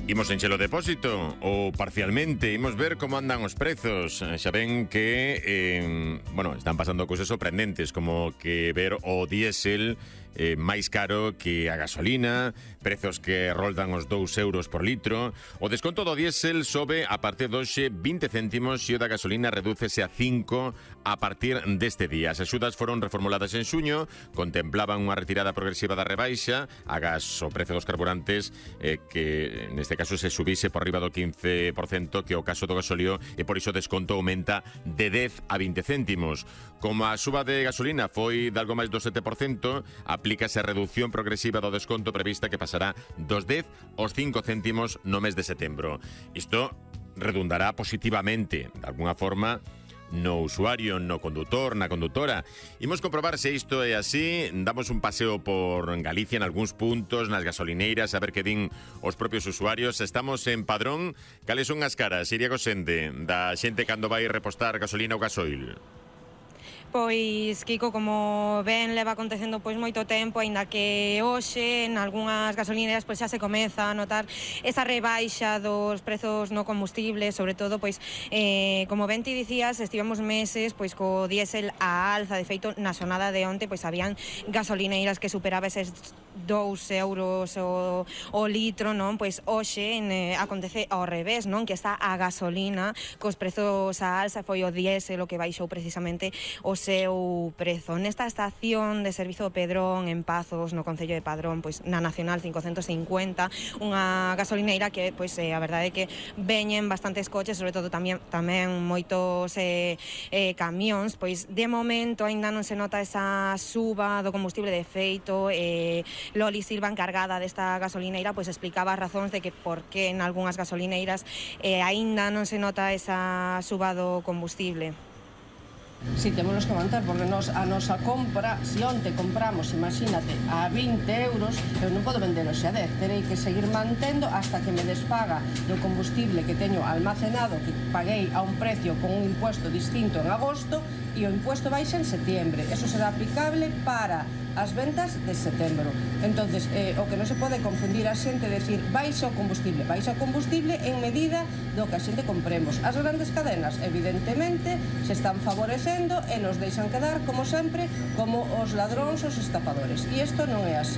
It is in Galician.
Imos encher o depósito ou parcialmente, imos ver como andan os prezos. Xa ven que están pasando cousas sorprendentes, como que ver o diésel máis caro que a gasolina, prezos que roldan os 2 euros por litro. O desconto do diésel sobe a partir de hoxe 20 céntimos e o da gasolina redúcese a 5 a partir deste día. As axudas foron reformuladas en xuño, contemplaban unha retirada progresiva da rebaixa, agás o prezo dos carburantes que neste caso se subise por riba do 15%, que é o caso do gasóleo, e por iso o desconto aumenta de 10 a 20 céntimos. Como a suba de gasolina foi de algo máis do 7%, aplícase a reducción progresiva do desconto prevista que pasará dos 10 aos 5 céntimos no mes de setembro. Isto redundará positivamente, de alguna forma, no usuario, no condutor, na condutora. Imos comprobar se isto é así. Damos un paseo por Galicia en algúns puntos, nas gasolineiras, a ver que din os propios usuarios. Estamos en Padrón. Cales son as caras, Iria Gosende, da xente cando vai repostar gasolina ou gasoil? Pois, Kiko, como ben leva acontecendo pois moito tempo, aínda que hoxe en algunhas gasolineras pois xa se comeza a notar esa rebaixa dos prezos no combustible, sobre todo pois como ben ti dicías, estivemos meses pois co diésel a alza. De feito, na xornada de onte pois habían gasolineiras que superaba eses 2 euros o litro, non? Pois hoxe acontece ao revés, non? Que está a gasolina cos prezos a alza, foi o diésel o que baixou precisamente o seu prezo. Nesta estación de servizo Pedrón en Pazos, no concello de Padrón, pois na Nacional 550, unha gasolineira que pois a verdade é que veñen bastantes coches, sobre todo tamén moitos camións. Pois de momento aínda non se nota esa suba do combustible. De feito, Loli Silva, encargada desta gasolineira, pois explicaba as razóns de que por que en algunhas gasolineiras aínda non se nota esa suba do combustible. Si, temos que aguantar, porque a nosa compra, se onte compramos, imagínate, a 20 euros, eu non podo vender hoxe a 10, terei que seguir mantendo hasta que me despaga do combustible que teño almacenado, que paguei a un precio con un impuesto distinto en agosto, e o impuesto baixa en setembro. Eso será aplicable para as ventas de setembro. Entonces, o que non se pode confundir a xente, decir, baixa o combustible en medida do que a xente compremos. As grandes cadenas, evidentemente, se están favorecendo e nos deixan quedar, como sempre, como os ladróns, os estafadores. E isto non é así.